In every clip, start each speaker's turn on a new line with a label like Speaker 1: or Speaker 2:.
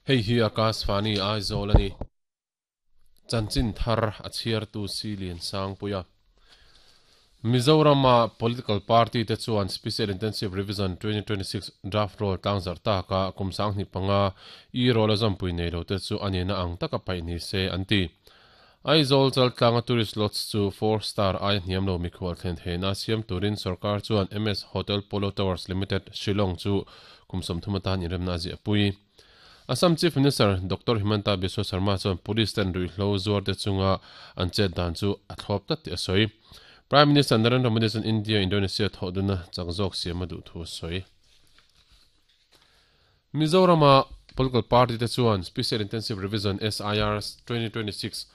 Speaker 1: Hei hi Akashvani Aizawl a ni. Chanchin thar a chhiartu Si Lian Sangpuia. Mizorama political party te chuan Special Intensive Revision 2026 draft roll tlangzarh taka kum 25 e-roll a zawmpui nei lo te chu a nihna ang taka paih ni se an ti. Aizawl chaltlanga tourist lodge chu four star aia hniam lo mikhual thlen theihna siam turin sorkar chuan MS Hotel Polo Towers Limited, Shillong chu kum 30 atan inremna a ziahpui. Assam Chief Minister Doctor Himanta Biswa Sarma chuan police ten ruihhlo zuarte chunga an chet dan chu a thlawp tlat tih a sawi. Prime Minister Narendra Modi chuan India-Indonesia thawhdunna chak zawk siam a duh thu a sawi. Mizorama political party te chuan Special Intensive Revision, SIR, 2026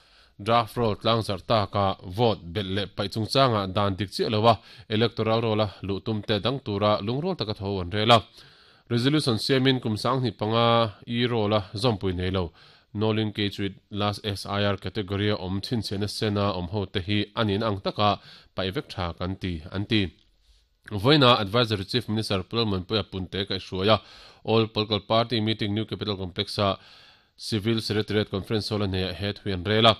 Speaker 1: draft roll tlangzarh taka vote belh leh paih chungchangah dan dik chiah loa electoral roll-a luh tum te dang tura lungrawl taka tho an rel a. Resolution siamin kum 25 e-roll-a zawmpui nei lo, no linkage with last SIR category-a awm chhinchhiahna sena awm ho te hi a nihna ang taka paih vek tha kan ti, an ti. Vawiina Advisory Chief Minister Pu Lalmuanpuia Punte kaihhruai a, All Political Party Meeting New Capital Complex-a Civil Secretariat Conference Hall a hneah he thu an rel a.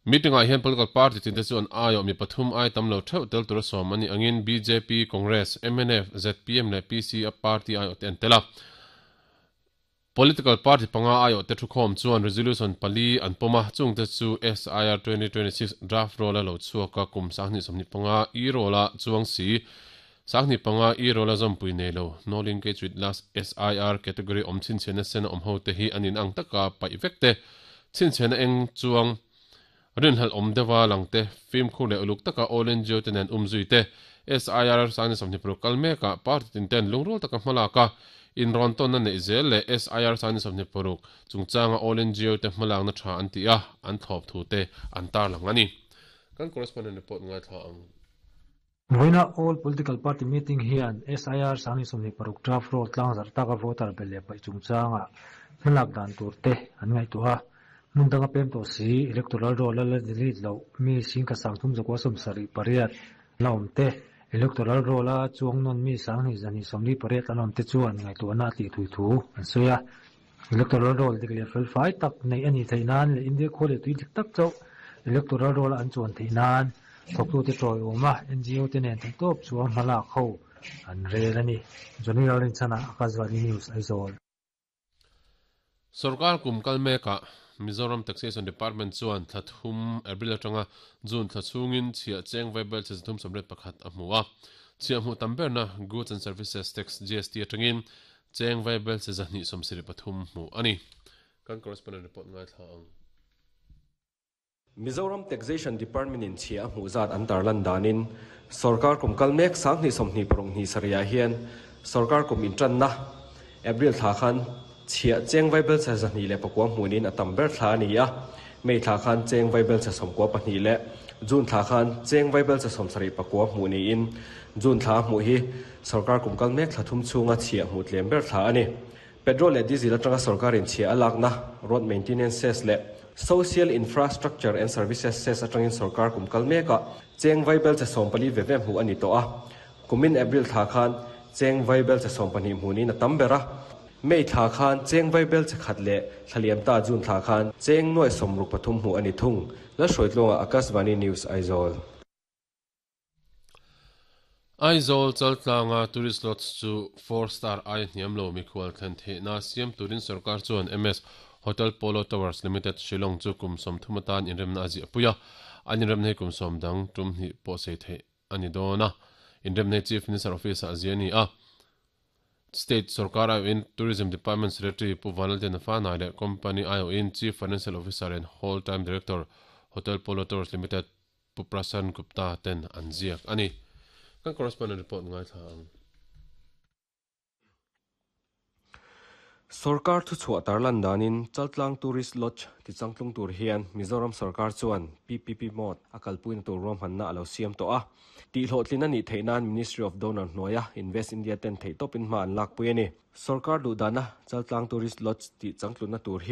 Speaker 1: Meeting-ah hian political party tinte chu an aiawh mi pathum ai tam lo theuh tel tura sawm an nih angin bjp, Congress, mnf, zpm leh PC a party aiawhte an tel a. Political party panga aiawhte thukhawm chuan resolution pali an pawm a, chungte chu SIR 2026 draft roll a lo chhuak a, kum 2025 e-roll a chuang si, 25 e-roll a zawmpui nei lo, no linkage with last SIR category awm chhinchhiahna sen a awm ho te hi an inang taka paih vek te, chhinchhiahna eng chuang Rinhlelh awm deuha lang te, fimkhur leh uluk taka All NGO te nen umzui te, SIR 26 kal mekah party tin ten lungrual taka hmalak a, inrawn tawnna neih zel leh SIR 26 chungchanga All NGO te hmalakna tha an ti a, an thlawp thu te an tarlang a ni. Kan correspondent report ngaithla ang.
Speaker 2: Vawiina All Political Party Meeting hian SIR 26 draft roll tlangzarh taka voter belh leh paih chungchanga hmalak dan tur te an ngaihtuah a. Hmun danga pem tawh si, electoral roll a la delete loh mi singkhat 3378 la awm te, electoral roll a chuang nawn mi 2248 an awm te chuan ngaihtuahna a tih thui thu an sawi a. Electoral roll dik leh fel fai tak neih a nih theih nan leh India khua leh tui dik tak chauh electoral roll a an chuan theih nan thawktute tawiawm a NGO te nen theihtawp chuan hmalak ho an rel a ni. Johnny Lalrinchhana, Akashvani News, Aizawl.
Speaker 1: Sorkar kum kal mekah Mizoram Taxation Department chuan thla thum April atanga June thla chhungin chhiah cheng vaibel che 381 a hmu a. Chhiah hmuh tam berna Goods and Services Tax, GST, atangin Cheng vaibel che 273 hmuh a ni. Kan correspondent report ngaithla ang.
Speaker 3: Mizoram Taxation Department in chhia a hmuh zat an tarlan danin sorkar kum kal mek 2026 hnih sarihah hian sorkar kum intanna April thla khan chhia cheng vaibel che 209 hmuhnin a tam ber thla a ni a, May thla khan cheng vaibel che 92 leh June thla khan cheng vaibel che 79 hmuh niin June thla a hmuh hi Sorkar kum kal mek thla thum chhunga chhiah hmuh tlem ber thla a ni. Petrol leh diesel atanga sorkarin chhiah a lakna, road maintenance cess leh social infrastructure and services cess atangin sorkar kum kal mekah cheng vaibel che 14 ve ve hmuh a ni tawh a. Kumin April thla khan cheng vaibel che 12 hmuhnin a tam ber a. May thla khan cheng vaibel che khat leh thla liam ta June thla khan cheng nuai 63 hmuh a ni thung. Lalhruaitluanga Akashvani News, Aizawl.
Speaker 1: Aizawl chaltlanga tourist lodge chu four star aia hniam lo mikhual thlen theihna siam turin sorkar chuan MS Hotel Polo Towers Limited, Shillong chu kum 30 atan inremna a ziahpui a, an inremna hi kum sawm dang tum hnih pawh sei theih a ni dawn a, inremna hi Chief Minister Office-ah a ziah a ni a. State sorkar aiawhin Tourism Department Secretary Pu Vanlaltena Fanai leh company aiawhin Chief Financial Officer and Whole Time Director, Hotel Polo Towers Limited, Pu Prashant Gupta ten an ziak a ni. Kan correspondent report ngaithla ang.
Speaker 3: Sorkar thuchhuah tarlan danin Chaltlang Tourist Lodge tichangtlung tur hian Mizoram sorkar chuan PPP mode a kalpuina tur ruahmanna a lo siam tawh a. Tihhlawhtlin a nih theih nan Ministry of Donor hnuaia Invest India ten theihtawpin hma an lakpui a ni. Sorkar duhdana Chaltlang Tourist Lodge tihchangtlunna tur hi.